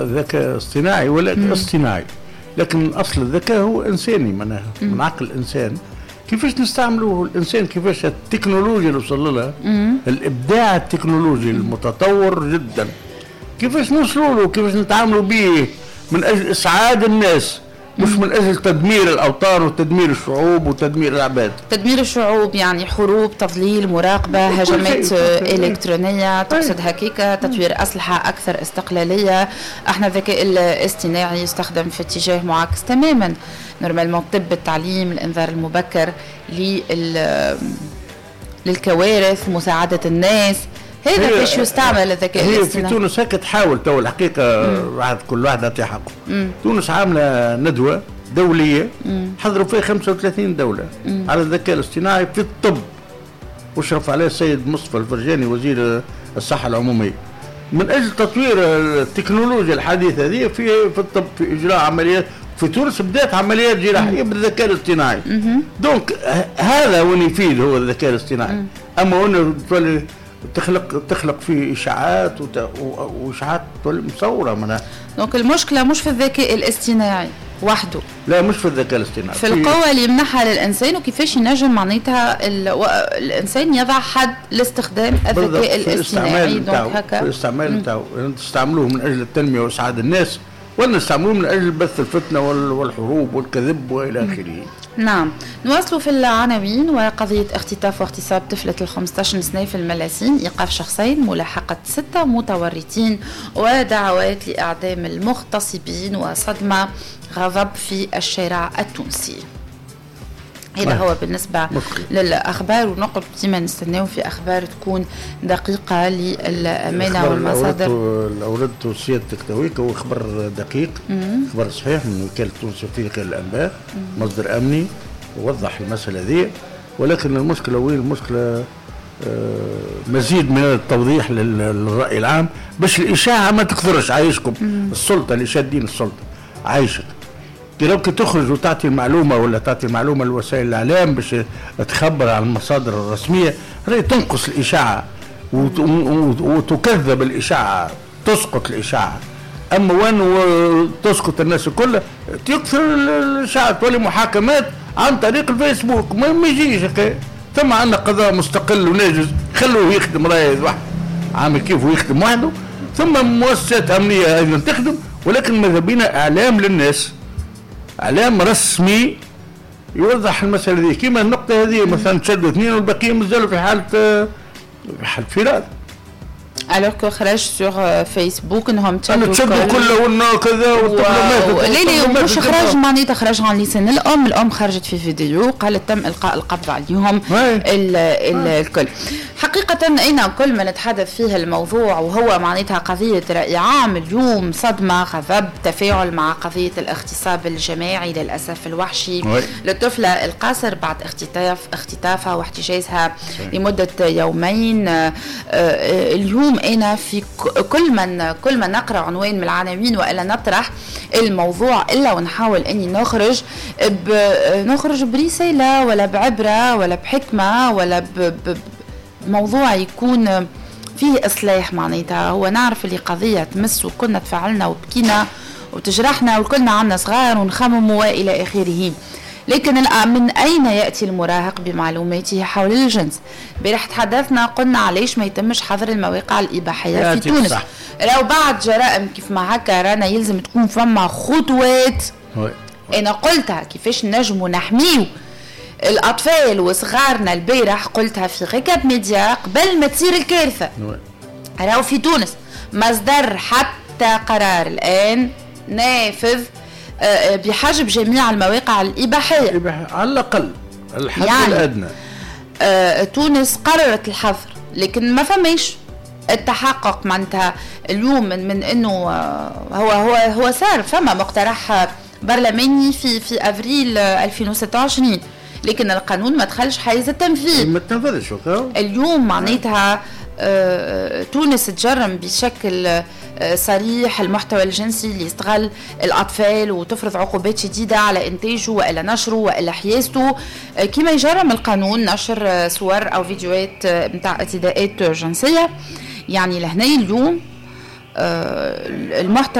ذكاء اصطناعي ولا اصطناعي، لكن اصل الذكاء هو انساني، معناها من عقل الانسان. كيفاش نستعملوه الانسان، كيفاش التكنولوجيا اللي وصل لها، الابداع التكنولوجي المتطور جدا، كيفاش نوصلوا له، كيفاش نتعاملوا به من اجل اسعاد الناس، مش من اجل تدمير الاوطان وتدمير الشعوب وتدمير العباد. تدمير الشعوب يعني حروب، تضليل، مراقبه، هجمات الكترونيه، تقصد هكيكا، تطوير اسلحة اكثر استقلاليه. احنا الذكاء الاصطناعي يستخدم في اتجاه معاكس تماما. normalement الطب، التعليم، الانذار المبكر للكوارث، مساعدة الناس، هذا كيفاش يستعمل الذكاء الاصطناعي. هي في تونس هكا تحاول تو الحقيقه، واحد كل واحد يعطي حقه. تونس عامله ندوه دولية حضروا فيها 35 دولة على الذكاء الاصطناعي في الطب، وشرف عليه السيد مصطفى الفرجاني وزير الصحة العموميه، من اجل تطوير التكنولوجيا الحديثة هذه في الطب، في اجراء عمليات. في تونس بدات عمليات جراحية بالذكاء الاصطناعي. donc هذا وين يفيد هو الذكاء الاصطناعي. اما وين تولي تخلق فيه اشاعات واشاعات تولي مصوره منها. donc المشكلة مش في الذكاء الاصطناعي وحده. لا، مش في الذكاء الاصطناعي، في القوة اللي يمنحها للإنسان، وكيفاش ينجم معناتها الإنسان يضع حد لاستخدام الذكاء الاصطناعي. donc هكا في الاستعمال نتاعو، تستعملوه من أجل التنمية وإسعاد الناس، ولا نستعملوه من أجل بث الفتنة والحروب والكذب وإلى آخره. نعم، نواصل في العناوين. وقضية اختطاف واغتصاب طفلة ال 15 سنة في الملاسين، إيقاف شخصين، ملاحقة 6 متورطين، ودعوات لإعدام المغتصبين، وصدمة غضب في الشارع التونسي. هذا هو بالنسبة للأخبار، ونقعد ديما نستناو في أخبار تكون دقيقة للأمانة والمصادر. أوردت سيادتك تويك هو خبر دقيق، خبر صحيح من وكالة تونس الأفريقية للأنباء، مصدر أمني وضح المسألة ذي. ولكن المشكلة وين المشكلة؟ مزيد من التوضيح للرأي العام باش الإشاعة ما تكثرش. عايشكم السلطة اللي شادين السلطة، عايشك لو كي تخرج وتعطي المعلومة ولا تعطي المعلومة لوسائل الإعلام باش تخبر على المصادر الرسمية، راهي تنقص الإشاعة وتكذب الإشاعة، تسقط الإشاعة. أما وين تسقط الناس الكل تكثر الإشاعة، تولي محاكمات عن طريق الفيسبوك، ما يجيش. ثم عندنا قضاء مستقل وناجز، خلوه يخدم راي واحد عامل كيف ويخدم وحده. ثم مؤسسات أمنية أيضا تخدم، ولكن ماذا بينا إعلام للناس، اعلام رسمي يوضح المسالة دي. كما النقطة هذه مثلا تشدوا 2 والبقية مازالوا في حاله فرار. alors que خرج sur فيسبوك انهم تشدوا كله كذا. لا لا، مش خرج معناتها خرج عن لسان الام، الام خرجت في فيديو قالت تم القاء القبض عليهم الكل. حقيقة أنا كل ما نتحدث فيه الموضوع وهو معناتها قضية رأي عام اليوم، صدمة، غضب، تفاعل مع قضية الاغتصاب الجماعي للأسف الوحشي للطفلة القاصر بعد اختطافها واحتجازها لمدة يومين. اليوم أنا في كل ما نقرأ عنوان من العناوين وإلا نطرح الموضوع إلا ونحاول أني نخرج برسالة ولا بعبرة ولا بحكمة ولا موضوع يكون فيه إصلاح. معناتها هو نعرف اللي قضية تمس وكنا تفعلنا وبكينا وتجرحنا وكلنا عنا صغار ونخمم وإلى آخره، لكن من أين يأتي المراهق بمعلوماته حول الجنس؟ بارح تحدثنا قلنا علاش ما يتمش حظر المواقع الإباحية في تونس. لو بعد جرائم كيف ما هكا رانا يلزم تكون فما خطوات. أنا قلتها كيفاش نجمو نحميو الأطفال وصغارنا، البارح قلتها في Récap Média قبل ما تصير الكارثة. راهو في تونس مصدر حتى قرار الآن نافذ بحجب جميع المواقع الإباحية على الأقل الحد يعني الأدنى. تونس قررت الحظر لكن ما فماش التحقق معناتها اليوم من انه هو هو هو صار فما مقترح برلماني في افريل 2026، لكن القانون ما دخلش حيز التنفيذ، ما تنفذش. اليوم معناتها تونس تجرم بشكل صريح المحتوى الجنسي اللي يستغل الأطفال وتفرض عقوبات شديدة على إنتاجه وإلا نشره وإلا حيازته، كما يجرم القانون نشر صور أو فيديوهات متاع اعتداءات جنسية. يعني لهنا اليوم المحتوى